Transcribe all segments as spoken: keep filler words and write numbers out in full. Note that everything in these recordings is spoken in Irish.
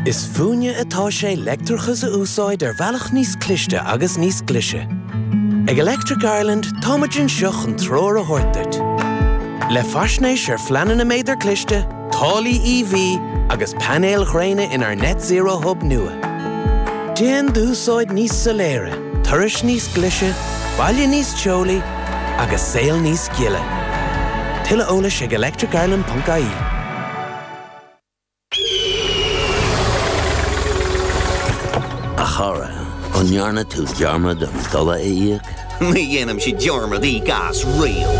Is fúinne atá sé leictreachas a úsáid ar bhealach níos cliste agus níos glaise. Ag Electric Ireland táimid anseo chun treoir a thabhairt duit. Le faisnéis ar phleananna méadar cliste, táillí EV agus painéil ghréine inár Net Zero Hub nua. Déan d'úsáid níos soiléire, turais níos glaise, baile níos teolaí agus saol níos gile. Tuilleadh eolais ag electricireland.ie. A chara, an ndearna tú dearmad an dola a íoc? Ní dhéanaimse dearmad íoc as riamh.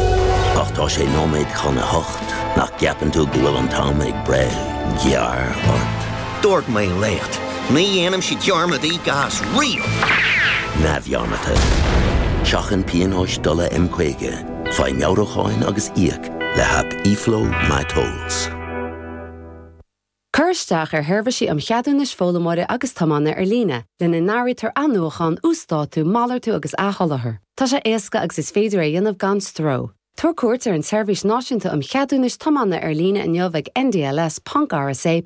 Ach tá sé nóiméad chun a hocht nach gceapann tú go bhfuil an t-am ag breith gearr ort. Dúirt mé leat, ní dhéanaimse dearmad íoc as riamh. Neamhdhearmadta. Seachain pionóis dola M caoga, faigh meabhrúcháin agus íoc le haip eFlow MyTolls. Cuir isteach ar sheirbhísí um cheadúnais foghlaimeora agus tiomána ar líne, lena n-áirítear athnuachan, uasdátú, malartú agus athsholáthar. Tá sé éasca agus is féidir é a dhéanamh gan stró. Tabhair cuairt ar an tSeirbhís Náisiúnta um Cheadúnais Tiomána ar líne inniu ag ndls.rsa.ie.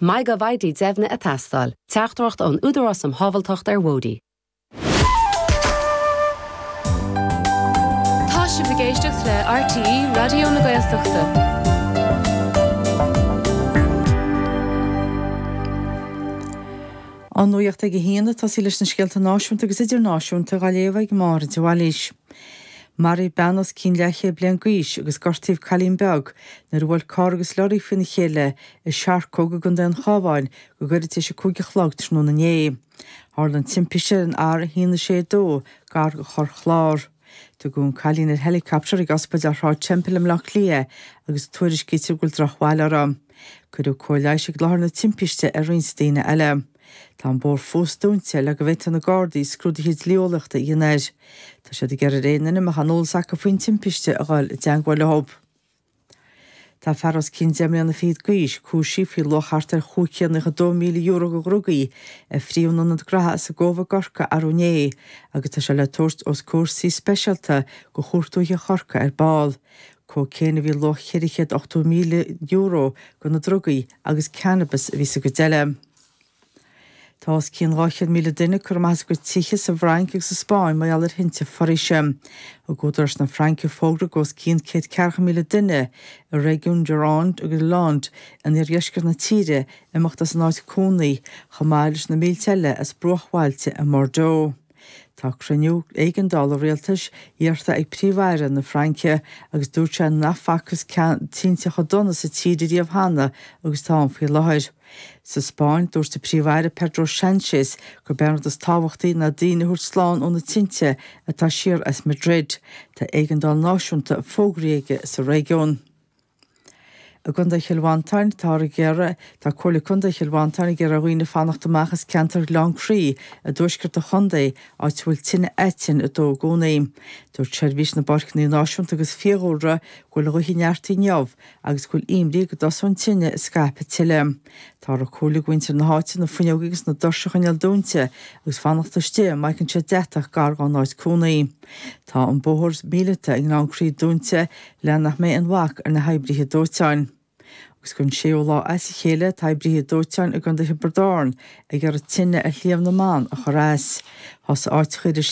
MyGovID deimhnithe ag teastáil, teachtaireacht ón Údarás um Shábháilteacht ar Bhóithre. Tá sibh ag éisteacht le RTÉ Raidió na Gaeltachta. An nuacht ag a haon ag tosaí leis na scéalta náisiúnta agus idirnáisiúnta á léamh ag Máire de Bhailís. Maraíodh bean os cionn leathchéad bliain d'aois agus gortaíodh cailín beag nuair a bhuail carr agus lorry faoina chéile i Searcóg i gContae an Chabháin go gairid tar éis a cúig a chlog tráthnóna inné. Tharla an timpiste ar an R a haon a sé dó gar do Chorr Chláir. Tugadh an cailín ar helicopter ag Ospidéal Shráid Temple i mBleá Cliath agus tuairiscítear go bhfuil drochbhail uirthi. Cuireadh cóir leighis ag láthair na timpiste ar roinnt daoine eile. Tá an bóthar fós dúnta le go bhféadfaidh na Gardaí scrúduithe dlí-eolaíochta a dhéanamh air. Tá siad ag iarraidh ar aon duine a mbeadh aon eolas acu faoin timpiste a dhul i dteagmháil leo. Tá fear os cionn deich mbliana fichead d'aois cúisithe faoi luach thart ar chúig chéad nócha dó míle euro de dhrugaí a frítheadh in ionad graithe as an gCóbh i gCorcaigh arú inné agus tá sé le tabhairt os comhair suí speisialta de Chúirt Dúiche Chorcaí ar ball. Cócaon a bhí luach ceithre chéad ochtó míle euro de na drugaí agus cannabas a bhí sa gcuid eile. Tá os cionn dhá chéad míle duine curtha amach as a gcuid tithe sa bhFrainc agus sa Spáinn mar gheall ar thinte foraoise. Thug údaráis na Fraince fógra do os cionn céad ceathracha míle duine i réigiún Gironde agus Landes in iardheisceart na tíre imeacht as a n-áit cónaí, chomh maith leis na mílte eile as bruachbhailte i mBordeaux. Tá cruinniú éigeandála rialtais iarrtha ag Príomh-Aire na Fraince agus dúirt sé nach bhfacthas tinte chomh dona sa tír riamh cheana agus atá ann faoi láthair. Sa Spáinn, dúirt an Príomh-Aire Pedro Sánchez gurb é an rud is tábhachtaí ná daoine a thabhairt slán ó na tinte atá siar as Madrid. Tá éigeandáil náisiúnta fógraithe aige sa réigiún. I gContae Chill Mhantáin, táthar ag iarraidh, tá Comhairle Contae Chill Mhantáin ag iarraidh ar dhaoine fanacht amach as ceantar Ghleann Crí i dtuaisceart an chontae, áit a bhfuil tine aitinn ag dó i gcónaí. Dúirt Seirbhís na bPáirceanna Náisiúnta agus Fiadhúlra go bhfuil an ghaoth ag neartú inniu agus go bhfuil imní go dtosóidh an tine ag scaipeadh tuilleadh. Táthar ag comhairliú do mhuintir na háite na fuinneoga agus na doirse a choinneáil dúnta agus fanacht istigh má fheiceann siad deatach gar dá n-áit cónaí. Tá an bóthar míleata i nGleann Crí dúnta le nach mbeidh aon bhac ar na hoibrithe dóiteáin. Agus don séú lá as a chéile tá oibrithe dóiteáin i gContae Thiobraid Árann ag iarraidh tine ar Shliabh na mBan a chur as. Thosaigh áiteacha idir